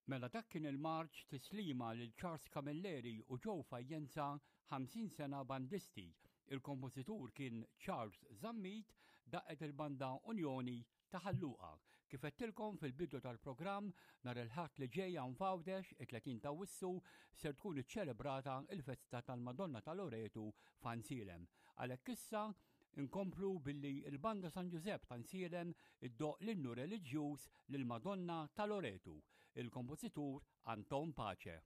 Mela dak kien il-marċ tislima lil Charles Camilleri u Joe Fajjenza 50 sena bandisti. Il-kompożitur kien Charles Zammit, daqqet il-banda Unjoni ta' Ħal Luqa. Kif għedtilkom fil-bidu tal-programm, nhar il-Ħadd li ġej hawn f'Għawdex, it-30 ta' Awwissu, ser tkun iċċelebrata l-festa tal-Madonna ta' Loretu f'Għajnsielem. Għalhekk issa nkomplu billi l-Banda San Ġużepp ta' Għajnsielem iddoqq l-innu reliġjuż lill-Madonna ta' Loretu, il-kompożitur Anton Pace.